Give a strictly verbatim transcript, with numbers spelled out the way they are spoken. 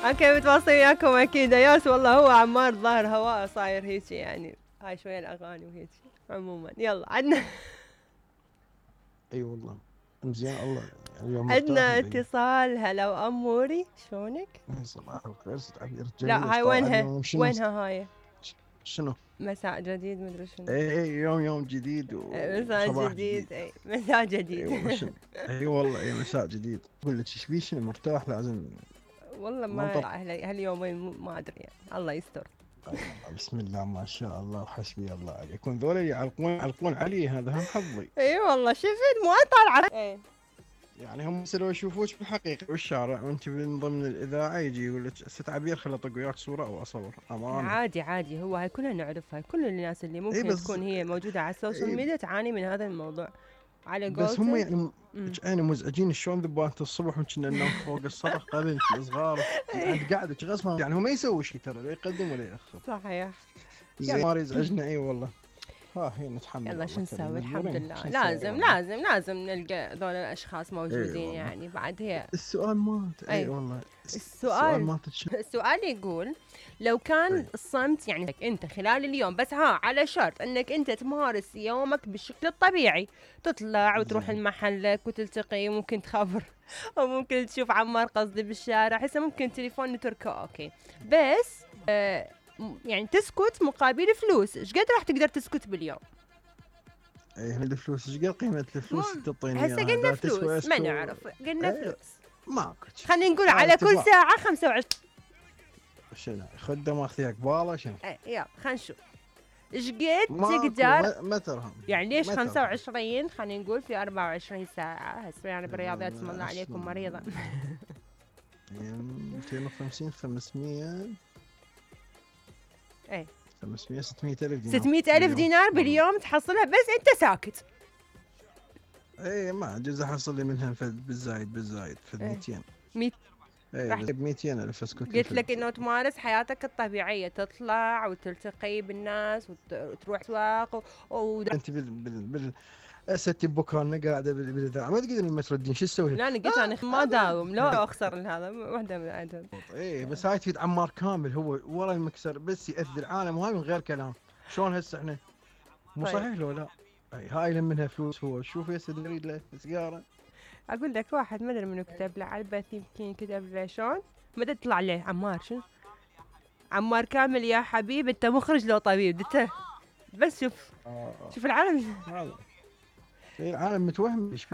اوكي متواصلين وياكم اكيد ياس. والله هو عمار ظاهر هواء صاير هيك يعني، هاي شويه الاغاني وهيك. عموما يلا عندنا اي والله زين. الله اليوم مرتاح عندنا مبين. اتصال. هلا واموري شلونك؟ إي صباح الخير ست عبير، لا جميل. هاي طالع وينها؟ اليوم شنو؟ وينها هاي؟ شنو؟ مساء جديد مدري شنو. اي اي يوم يوم جديد مساء وصباح جديد. جديد. اي مساء اي جديد. والله شنو. اي والله اي مساء جديد. اقول لك ايش بيه شنو مرتاح لازم. والله ما ننطر. هال- هاليومين ما ادري يعني، الله يستر. أي والله بسم الله ما شاء الله وحسبي الله عليكم. ذولا يعلقون يعلقون علي، هذا هم حظي. اي والله شفت مو طالعه. اي يعني هم لو يشوفوك بالحقيقه بالشارع وانت من ضمن الاذاعه يجي يقول لك ست عبير خل اطق وياك صوره او اصور امانه. عادي عادي، هو هاي كلنا نعرفها، كل الناس اللي اي ممكن بس تكون هي موجوده على السوشيال اي ميديا تعاني من هذا الموضوع على بس هم قولتك. يعني أمم. يعني مزعجين. شلون ذبانة الصبح وكنا ننام فوق السطح قبل الصغار عند قعدك غصبا. يعني هو ما يسوي شيء ترى، لا يقدم ولا ياخر. صحيح. زين ما يزعجنا. اي والله. ها هي نتحمل. يلا الله شو نسوي؟ كريم. الحمد مجبورين. لله شو نسوي لازم والله. لازم لازم نلقى ذول الاشخاص اي موجودين والله. يعني بعد هي. السؤال مالت اي اي والله. السؤال السؤال مالت شنو؟ السؤال يقول لو كان اي الصمت يعني انت خلال اليوم بس ها على شرط انك انت تمارس يومك بالشكل الطبيعي، تطلع وتروح زين. لمحلك وتلتقي، ممكن تخبر او ممكن تشوف عمار قصدي بالشارع، هسه ممكن تليفون نتركه اوكي، بس آه م- يعني تسكت مقابل فلوس، ايش قد راح تقدر تسكت باليوم؟ اي الفلوس ايش قد قيمة الفلوس اللي تعطيني هسه اياها؟ قلنا اذا تسوى فلوس ما اسكو. نعرف، قلنا اي فلوس. ماكو شي. خلينا نقول هذا على كل اتفاق. ساعة خمسة وعشرين. شنو خده ماخذ قباله شنو؟ اي يلا خلينا نشوف ايش قد ماكو تقدر. ما, ما ترهم. يعني ليش ما خمسة ترهم. وعشرين؟ خلينا نقول في أربعة وعشرين ساعة. هسه يعني بالرياضيات اسم الله عليكم عشرين. مريضة. مئتين وخمسين خمسمية. اي خمسمية ستمية ألف دينار ستمية ألف باليوم. دينار والله. باليوم تحصلها بس انت ساكت. اي ما اجوز احصل لي منها فد بالزايد بالزايد فد إيه. مئتين. ميت اي راح ب مئتين ألف اسكت. قلت لك انه تمارس حياتك الطبيعية، تطلع وتلتقي بالناس وت- وتروح اسواق و... و... انت بال بال بال اساتي بكره قاعده بال- بالاذاعه ما تقدرين ما تردين شو تسوي؟ لا انا قلت انا ما داوم لو اخسر هذا واحدة من العدد. ايه بس هاي تفيد عمار كامل هو ورا المكسر بس يأذي العالم وهاي من غير كلام. شلون هسه احنا مو طيب. صحيح لو لا؟ اي هاي لم منها فلوس. هو شوف هسه نريد له سياره. اقول لك واحد ما ادري منو كتب له على البث، يمكن كتب له شلون ما ادري طلع له عمار شنو عمار كامل يا حبيب انت مخرج لو طبيب انت بس شوف آه. شوف العالم. هذا العالم متوهم ايش